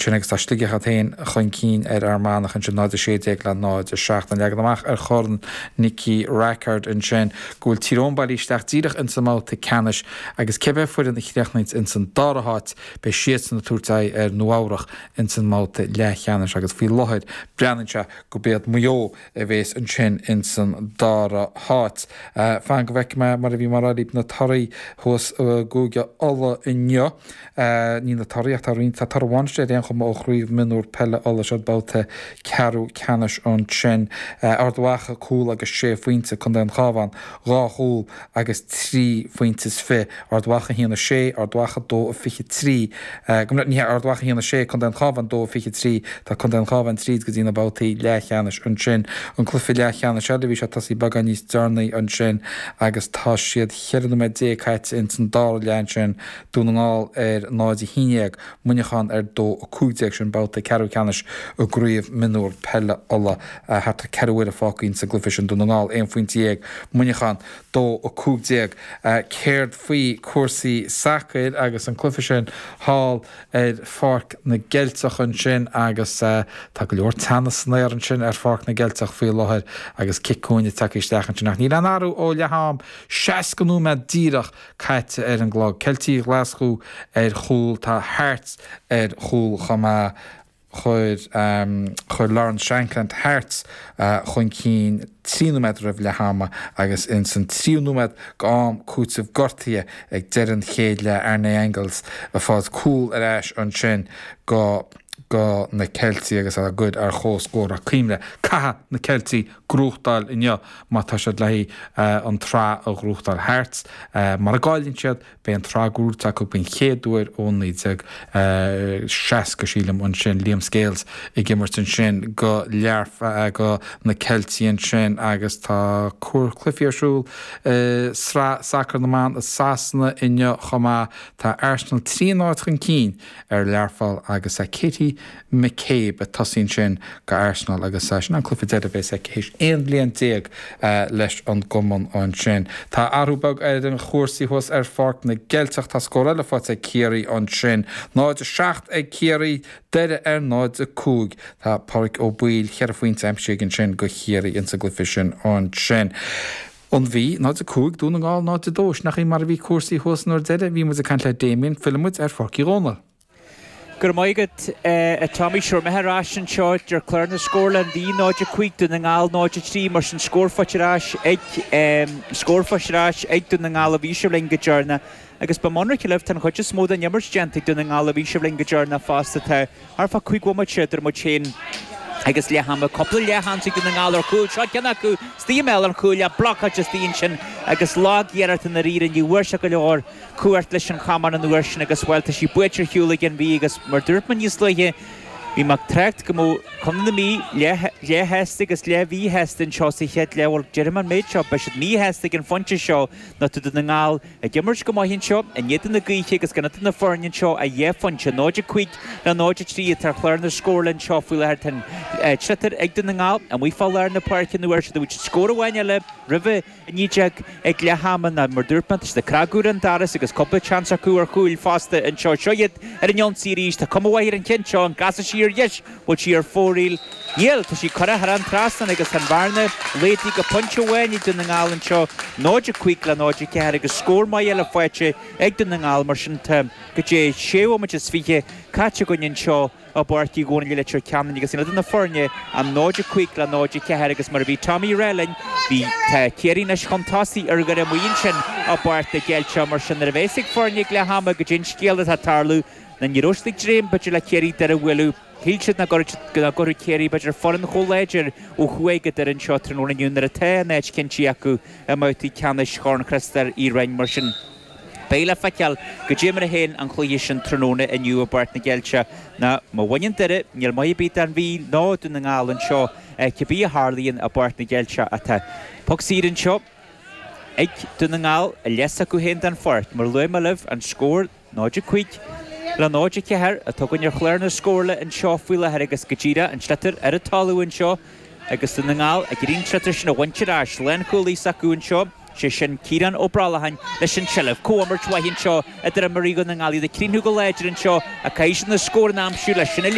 Sin agus tá Sligeach iad féin chun cinn ar Fhear Manach ansin, 0-16 le 0-7. An leagan amach ar Chorn Nicky Rackard ansin go bhfuil Tír Eoghain bailithe isteach díreach ins an mbabhta ceannais agus cibé foireann a chríochnaíonns ins an dara háit beidh siadsan ag tabhairt aghaidh ar Nua Eabhrach ins an mbabhta leathcheannais agus faoi láthair breathnaíonn sé gurb iad Maigh Eo a bhéas ansin ins an dara háit. Fan go bhfeicfidh mé, mar a bhí mé a rá libh, na torthaí thuas i gCúige Uladh inniu. Ní na torthaí ach tá roinnt, tá toradh amháin istigh ar aon chuma ó Chraobh Mionúr Peile Uladh, siod babhta ceathrú ceannais ansin. Ard Mhacha, cúl agus sé phointe, Contae an Chabháin, dhá chúl agus 3 phointe is 20, Ard Mhacha 1, 6, Ard Mhacha 2, 23, ní hea, Ard Mhacha 1, 6, Contae an Chabháin 2, 23, tá Contae an Chabháin tríd go dtí na babhtaí leathcheannais ansin. An cluiche leathcheannais eile, bhí sé tosaithe beagán níos deireanaí ansin agus tá siad 14 nóiméad caite ins an dara leath ansin, Dún na nGall ar 0, 11, Muineachán ar 2, 15, sin babhta ceathrú ceannais i gCraobh Mionúr Peile Uladh. Thart ar ceathrú uaire fágtha ins an gcluiche sin, Dún na nGall 11 phointe, Muineachán 2, 15. Céard faoi cúrsaí sacair agus an cluiche sin thall ar Pháirc na gCeilteach ansin agus tá go leor teannas san aer ansin ar Pháirc na gCeilteach faoi láthair agus cic cúinne tagtha isteach ansin ach níl aon athrú ó leath am, 60 nóiméad díreach caite ar an gclog. Ceiltigh Ghlaschú ar chúl, tá Hearts ar chúl chomh maith. Chuir chuir Lawrence Shankland Hearts chun cinn 3 nóiméad roimh leath ama agus ins an tríú nóiméad go am cúitimh gortaithe ag deireadh an chéad leath Arne Engels ag fáilt cúl ar ais ansin go go na Ceiltigh agus á gcur ar chomhscór. Ach cuimhnigh, caithfidh na Ceiltigh gnóthachtáil inniu má tá siad le haghaidh an tsraith a ghnóthachtáil. Hearts, mura gcailleann siad, beidh an tsraith gnóite acu den chéad uair ó 1960, sílim, ansin. Liam Scales ag imirt ansin go Learpholl, go na Ceiltigh ansin agus tá cluichí ar siúl i Sraith Sacair na mBan i Sasana inniu chomh maith. Tá Arsenal 3-0 chun cinn ar Learpholl agus Katie McCabe ag tosaí ansin go Arsenal agus sin an cluiche deiridh a bheas aici théis 11 bliain leis an gcumann ansin. Tá athrú beag ar an chúrsaí thuas ar Pháirc na gCeilteach. Tá scór eile faighte ag Ciarraí ansin. 0-7 ag Ciarraí, Doire ar 0-5. Tá Pádraig Ó Baoill, cheithre phointe aimsithe aige ansin go Chiarraí insa gcluiche sin ansin. An Mhí, 0-5, Dún na nGall 0-2. Sin í mar a bhí cúrsaí thuas an uair deiridh a bhí muid ag caint le Damien. Fillfidh muid ar Pháirc Uí Dhónaill. Go raibh maith agat, a Tommy. Sure, mé ar ais anseo ar chlár na scórlainne, An Mhí 0-5, Dún na nGall 0-3, mar sin scór faighte ar ais ag, scór faighte ar ais ag Dún na nGall a bhí sibh linn go deireanach. Agus beidh mé ionraic libh, tá an chuid is mó den imirt déanta ag Dún na nGall a bhí sibh linn go deireanach fosta. Tá thart fá 5 bhomaite idir muid féin agus leath ama. Cúpla leathsheans ag Dún na nGall ar chúl. Seo ceann acu istigh i mbéal an chúil, blocáilte istigh ansin agus lag-iarracht i ndáiríre. Ní bhfuair sé go leor. cumhacht leis an chamán an uair sin agus, bhuel, tá sí buailte ar shiúl ag an Mhí agus mar dúirt mé níos luaithe, bhí mé ag trácht go mbeadh Contae na Mí leath-shásta agus leath-mhíshásta anseo sa chéad leath. Bhuel, déarfaidh mé an méid seo, beidh siad míshásta ag an phointe seo nó tá Dún na nGall ag imirt go maith anseo, in éadan na gaoithe agus gan idir na foirne anseo ach dhá phointe, 0-5 le 0-3 atá ar chlár na scórlainne anseo faoi láthair. Tá an sliotar ag Dún na nGall amuigh fá lár na páirce an uair seo. Bhuaigh siad scór amháin eile roimhe 19 ag leath ama ná mar dúirt mé, tá siad ag cnagadh ar an doras agus cúpla seans acu ar chúil fosta anseo. Seo iad ar an ionsaí arís. Tá cuma mhaith ar an cheann seo. An gcasfaidh sí ar dheis? Bhfuil sí ar fóraoil? Níl! Tá sí curtha thar an trasnán agus tá an bhearna laghdaithe go pointe amháin ag Dún na nGall anseo, 0-5 le 0-4 agus scór maith eile faighte ag Dún na nGall. Mar sin tá go dtí sé bhomaite is 20 caite againn anseo. I bPáirc Uí Dhónaill i Leitir Ceanainn agus in éadan na foirne an 0-5 le 0-4 agus mar a bhí Tommy ag rá linn bhí tá Ciarraí anois chun tosaigh ar Dhoire amuigh ansin i bPáirc na gCeilteach mar sin nuair a bheas ag foirne ag leath ama goidé an scéal atá ag tarlú ná ní raibh siad ag dréim b'fhéidir le Ciarraí Doire a bhualadh shíl siad nach gcuirfeadh Ciarraí b'fhéidir foireann chomh láidir ó thuaidh go Doire anseo tráthnóna inniu nuair atá an áit cinntithe acu i mbabhtaí ceannais Chorn Chriostóir Uí Rinn mar sin Beidh le feiceáil goidé mar a théann an cluiche sin tráthnóna inniu i bPáirc na gCeilteach. Ná má bhaineann Doire, níl maith ar bith don Mhí ná Dún na nGall anseo, cibé a tharlaíonn i bPáirc na gCeilteach. Ach tá poc saor anseo ag Dún na nGall i leath s'acu féin den pháirc. Mar a luaigh mé libh, an scór 0-5 le 0-4 atá againn ar chlár na scórlainne anseo faoi láthair agus go díreach an sliotar ar an talamh anseo agus Dún na nGall ag iarraidh an sliotar sin a bhaint ar ais. Lánchúlaí s'acu anseo. Sé sin Ciarán Ó Brollacháin leis an tseilbh. Comhimirt mhaith anseo idir imreoirí Dhún na nGall. Iad ag críochnú go láidir anseo ach caithfidh siad na scóranna a aimsiú leis sin a.